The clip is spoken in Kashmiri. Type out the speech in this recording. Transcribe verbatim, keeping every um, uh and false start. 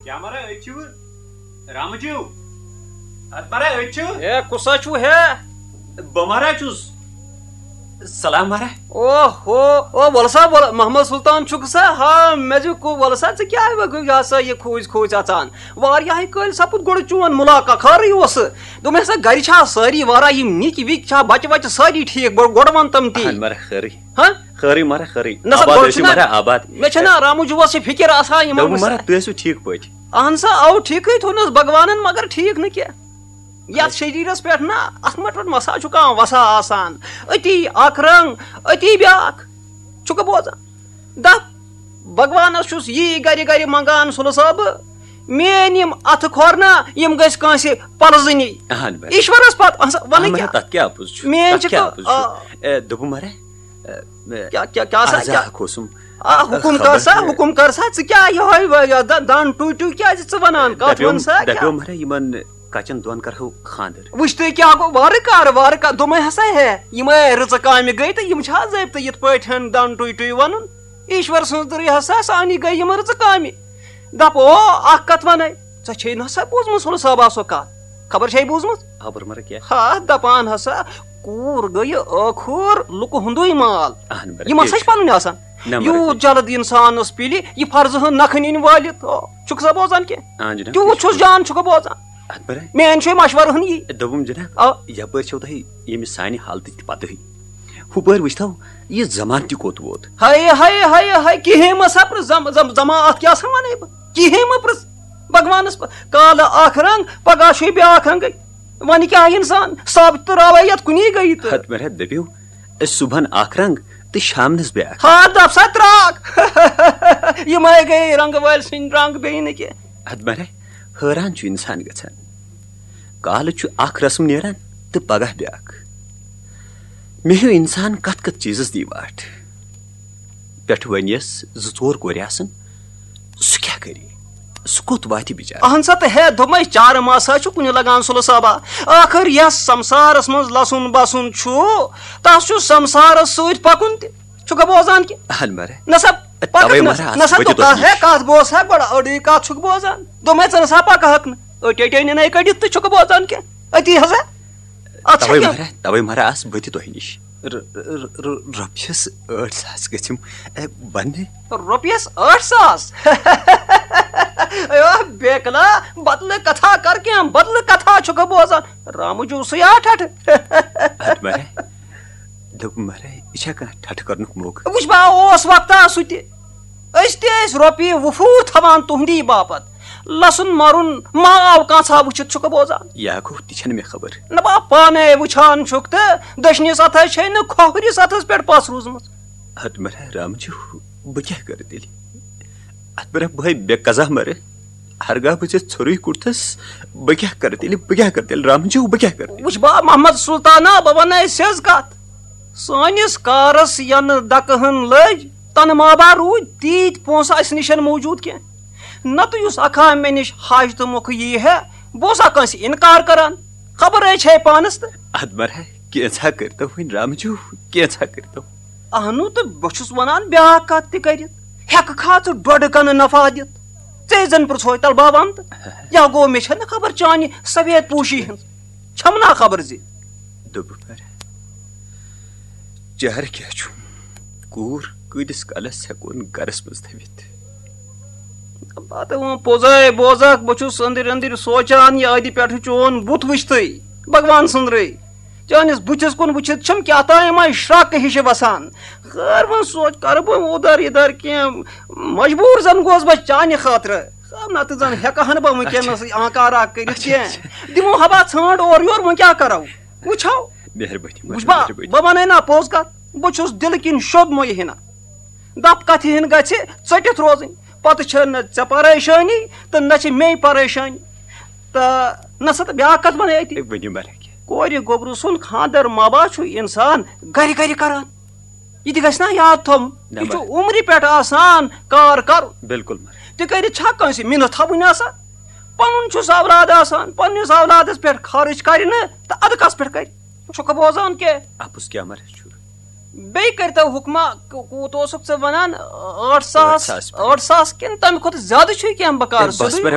کیا مہراہ أتۍ چھِو؟ رامہٕ جیو، اَتھ مہراہ أتۍ چھِو؟ اے، کُس ہا چھُو ہے؟ بہٕ مہراہ چھُس۔ سلام مہراہ۔ او ہو، او، وَلہٕ سا، وَلہٕ، محمد سلطان چھُکھ سا؟ ہا، مےٚ چھُ کو-، وَلہٕ سا، ژٕ کیٛاہ وۄنۍ یہِ ہسا یہِ کھوٗژۍ کھوٗژۍ اَژان؟ واریاہے کٲلۍ سپُد گۄڈٕ چون مُلاقات، خٲرٕے اوسہٕ۔ دوٚپمَے ہسا، گَرِ چھا سٲری واریاہ یِم نِکۍ وِکۍ چھا، بَچہٕ وَچہٕ سٲری ٹھیٖک؟ بہٕ گۄڈٕ وَن تِم تی۔ اَہَن مہراہ، خٲرٕے۔ ہا؟ خٲرٕے مہراہ، خٲرٕے۔ نہ سا، آباد گۄڈٕ ٲسِو چھُنہ، مہراہ، آباد۔ مےٚ چھَنہ رامہٕ جُوَس یہِ فِکِر آسان یِمَن دوٚپُن مہراہ، تُہۍ ٲسِو ٹھیٖک پٲٹھۍ؟ اَہَن سا، اَوٕ ٹھیٖکٕے تھوٚونَس بھگوانَن، مگر ٹھیٖک نہٕ کینٛہہ۔ یَتھ شریٖرَس پٮ۪ٹھ نہ، اَتھ مَٹھ پٮ۪ٹھ مَسا چھُ کانٛہہ وَسا آسان۔ أتی اَکھ رنٛگ، أتی بیٛاکھ۔ چھُکھٕ بوزان؟ دَپ، بھگوانَس چھُس یی گَرِ گَرِ منٛگان، سُلہٕ صٲبہٕ، میٛٲنۍ یِم اَتھٕ کھۄر نہ، یِم گٔژھۍ کٲنٛسہِ پَلزٕنی۔ اَہَن بَے۔ ایٖشوَرَس پَتہٕ، اَہَن سا، وَنہٕ اَہَن مہراہ، کیٛاہ؟ تَتھ کیٛاہ اَپُز چھُ؟ میٛٲنۍ تَتھ چھِ کیٛاہ کٲ-، اَپُز چھُ؟ آ۔ اے، دوٚپُن مہراہ، اے، اے، کیٛاہ، کیٛاہ، کیٛاہ سا، عرضا کیٛاہ؟ اَکھ اوسُم۔ آ، حُکُم خبر کر سا، چھُ۔ حُکُم کر سا، ژٕ کیٛاہ یِہوٚے وۄنۍ یَتھ دَ-، دَن ٹُوۍ ٹُوۍ کیٛازِ ژٕ وَنان؟ کَتھ دَپیوم، وَن سا کیٛاہ؟ دَپیوم مہراہ، یِمَن کَچَن دۄن کَرہو خانٛدر۔ وٕچھ تُہۍ کیٛاہ گوٚو، وارٕ کار، وارٕ کار، دوٚپمَے ہسا ہے، یِمَے رٕژٕ کامہِ گٔے تہٕ یِم چھِ ضٲبطہٕ یِتھ پٲٹھۍ دَن ٹُوۍ ٹُوۍ وَنُن؟ ایٖشوَر سٕنٛز دٕرٕے ہسا سانی گٔے یِم رٕژٕ کامہِ۔ دَپ او، اَکھ کَتھ وَنَے، ژےٚ چھے نہ سا بوٗزمُت سُلہٕ صٲبہ سۄ کَتھ؟ خبر چھے بوٗزمٕژ؟ خبر مگر کیٛاہ؟ ہا، دَپان ہسا، کوٗر گٔیہِ ٲخٕر لُکہٕ ہُنٛدُے مال۔ اہن مگر یِم ہسا کیٛاہ چھِ چھُ؟ پَنٕنۍ آسان۔ نہ مگر یوٗت کیٛاہ چھُ؟ جلد اِنسانَس پِلہِ، یہِ فرضہٕ ہن نَکھٕ نِنۍ وٲلِتھ۔ او، چھُکھ سا بوزان کینٛہہ؟ آ جناب، تیوٗت کیٛاہ چھُ؟ چھُس جان چھُکھ بوزان۔ اَتھ پٮ۪ٹھ میٛٲنۍ چھُے مَشوَرٕ ہن یی۔ دوٚپُم جناب، آ۔ یَپٲرۍ چھَو تۄہہِ ییٚمہِ سانہِ حالتٕچ تہِ پَتہٕے۔ ہُپٲرۍ وٕچھتو، یہِ زمانہٕ تہِ کوٚت ووت۔ ہاے، ہاے، ہاے، ہاے، کِہیٖنۍ مہ سا پرٛژھ، زم-، زم-، زما اَتھ کیٛاہ سا وَنَے بہٕ؟ کِہیٖنۍ مہ پرٛژھ۔ بھگوانَس پَتھ۔ کالہٕ اَکھ رنٛگ، پَگاہ چھُے بیٛاکھ رنٛگٕے۔ وۄنۍ کیٛاہ اِنسان؟ ثابت تہٕ راوَے یَتھ کُنی گٔیی تہٕ۔ ہَتہٕ مےٚ ہَتھ دٔپِو، صُبحن اَکھ رنٛگ تہٕ شامنَس بیٛاکھ۔ ہا، دَپ سا ترٛاکھ۔ یِمَے گٔے رنٛگہٕ وٲلۍ سٕنٛدۍ رنٛگ، بیٚیہِ نہٕ کینٛہہ۔ ہَتہٕ مےٚ ہَتھ حٲران چھُ اِنسان گژھان۔ کالہٕ چھُ اَکھ رسم نیران تہٕ پَگاہ بیٛاکھ۔ مےٚ ہیوٗ اِنسان کَتھ کَتھ چیٖزَس دی واٹھ۔ پٮ۪ٹھٕ وَنیَس زٕ ژور کورِ آسَن، سُہ کیٛاہ کَرِ؟ سُہ کوٚت واتہِ بِچارٕ؟ اَہَن سا تہٕ ہے، دوٚپمَے چارٕ ما سا چھُ کُنہِ لَگان سُلہٕ صٲبا۔ ٲخٕر یَس سَمسارَس منٛز لَسُن بَسُن چھُ، تَس چھُ سَمسارَس سۭتۍ پَکُن تہِ۔ چھُکھا بوزان کہِ؟ اَہَن مَرٕ۔ نہ سا، پَکَکھ تَوَے نہ، مَرٕ آسہٕ نہ سا بہٕ تہِ توٚتاہ دۄہَس ہے نِش۔ کَتھ بوز ہا گۄڈٕ، أڑٕے کَتھ چھُکھ بوزان۔ دوٚپمَے ژٕ نہ سا پَکہٕ ہَکھ نہٕ۔ أٹۍ أٹۍ أنِن ہے کٔڑِتھ تہٕ چھُکھ بوزان کینٛہہ۔ أتی ہسا۔ اَتھ چھا توَے کینٛہہ؟ مَرٕ، توَے مَرٕ آسہٕ بہٕ تہِ تۄہہِ نِش۔ ر-، ر-، ر-، رۄپیَس ٲٹھ ساس گٔژھِم، اے، بَننہِ۔ رۄپیَس ٲٹھ ساس؟ اے، بیکلا، بدلہٕ کتھا کر کینٛہہ، بدلہٕ کتھا چھُکھ بوزان۔ رامہٕ جوٗ سُے آ ٹھٹھٕ۔ اَدٕ مَرٕ، دوٚپُن مَرٕ، یہِ چھا کانٛہہ ٹھٹھٕ کرنُک موقعہٕ؟ وٕچھ با، اوس وقتا سُہ تہِ۔ أسۍ تہِ ٲسۍ رۄپیہِ وُفوٗر تھاوان تُہنٛدی باپتھ۔ لَسُن مَرُن ما آو کانٛژھا وٕچھِتھ، چھُکھ بوزان؟ یا گوٚو، تہِ چھَنہٕ مےٚ خبر۔ نہ با، پانے وٕچھان چھُکھ تہٕ دٔچھنِس اَتھَس چھے نہٕ کھۄہرِس اَتھَس پٮ۪ٹھ پَس روٗزمٕژ۔ اَدٕ مَرٕ رامہٕ جوٗ، بہٕ کیٛاہ کَرٕ تیٚلہِ؟ اَدٕ مَرٕ بہٕ ہے بے قضا مَرٕ۔ ہرگاہ بہٕ ژےٚ ژھوٚرُے کوٚرتھَس، بہٕ کیٛاہ کَرٕ تیٚلہِ؟ بہٕ کیٛاہ کَرٕ تیٚلہِ؟ رامہٕ جوٗ، بہٕ کیٛاہ کَرٕ تیٚلہِ؟ وٕچھ با محمد سلطانا، بہٕ وَنَے سیٚز کَتھ۔ سٲنِس کارَس یَنہٕ دَکہٕ ہن لٔج، تَنہٕ ما با روٗدۍ تیٖتۍ پونٛسہٕ اَسہِ نِش موٗجوٗد کینٛہہ۔ نَتہٕ یُس اَکھا مےٚ نِش حاجتہٕ مۄکھٕ یی ہے، بہٕ اوسا کٲنٛسہِ اِنکار کَران؟ خبر ہے چھے پانَس تہٕ۔ اَدٕ مَرٕ ہے، کینٛژھا کٔرۍتو وۄنۍ رامہٕ جوٗ، کینٛژھا کٔرۍتو۔ اہنوٗ، تہٕ بہٕ چھُس وَنان بیٛاکھ کَتھ تہِ کٔرِتھ۔ ہٮ۪کہٕ کھا ژٕ ڈۄڈٕ کَنہٕ نفع دِتھ؟ ژےٚ زَن پرٛژھوے تَلہٕ بابَن تہٕ۔ یا گوٚو، مےٚ چھَنہٕ خبر چانہِ سفید پوشی ہٕنٛز۔ چھَم نا خبر زِ۔ دوٚپُکھ، مگر چارٕ کیٛاہ چھُ؟ کوٗر کۭتِس کالَس ہٮ۪کون گَرَس منٛز تھٲوِتھ؟ پَتہٕ وۄنۍ پوٚزَے بوزَکھ، بہٕ چھُس أنٛدٕرۍ أنٛدٕرۍ سونٛچان، یہِ أدِ پٮ۪ٹھٕ چون بُتھ وٕچھتھٕے، بھگوان سٕنٛدرٕے۔ چٲنِس بٕتھِس کُن وٕچھِتھ چھَم کیٛاہ تام یِمَے شرٛکہٕ ہِشہِ وَسان۔ خٲر وۄنۍ سونٛچ، کَرٕ بہٕ اودَر یِدَر کینٛہہ، مجبوٗر زَن گوس بہٕ چانہِ خٲطرٕ۔ خٲر نَتہٕ زَن ہٮ۪کہٕ ہَن بہٕ وٕنکٮ۪نَس اچھا۔ آنکارا کٔرِتھ اچھا، کینٛہہ۔ اچھا۔ دِمو ہبا ژھانٛڈ اورٕ یورٕ، وۄنۍ کیٛاہ کَرو؟ وٕچھو۔ مہربٲنی، وٕچھ با، مہربٲنی۔ بہٕ وَنَے نا پوٚز کَتھ، بہٕ چھُس دِلہٕ کِنۍ شوٚد مُیہِ ہِنا۔ دَپ کَتھِ ہِن گژھِ ژٔٹِتھ روزٕنۍ، پَتہٕ چھےٚ نہ ژےٚ پریشٲنی تہٕ نہ چھِ مے پریشٲنی۔ تہٕ نہ سا، تہٕ بیٛاکھ کَتھ وَنَے أتی۔ ہے، ؤنِو مَرٕ کیٛاہ؟ کورِ گوٚبرٕ سُنٛد خانٛدر ما با چھُ اِنسان گَرِ گَرِ کَران؟ یہِ تہِ گژھِ نا یاد تھاوُن۔ نہ، یہِ چھُ مَرٕ۔ عُمرِ پٮ۪ٹھ آسان کار کَرُن۔ بِلکُل مَرٕ۔ تہِ کٔرِتھ چھا کٲنٛسہِ مِنَت تھاوٕنۍ آسان؟ پَنُن چھُس اولاد آسان، پَنٕنِس اولادَس پٮ۪ٹھ خرٕچ کَرِ نہٕ تہٕ اَدٕ کَس پٮ۪ٹھ کَرِ؟ چھُکھٕ بوزان کینٛہہ؟ اَپُز کیٛاہ مَرٕ چھُ؟ بیٚیہِ کٔرۍتو حُکما، کو-، کوٗت اوسُکھ ژٕ وَنان؟ ٲٹھ ساس، ٲٹھ ساس پٮ۪ٹھ۔ ٲٹھ ساس کِنہٕ تَمہِ کھۄتہٕ زیادٕ چھُے کینٛہہ بکار؟ ہے، بَس سیوٚدُے مَرٕ،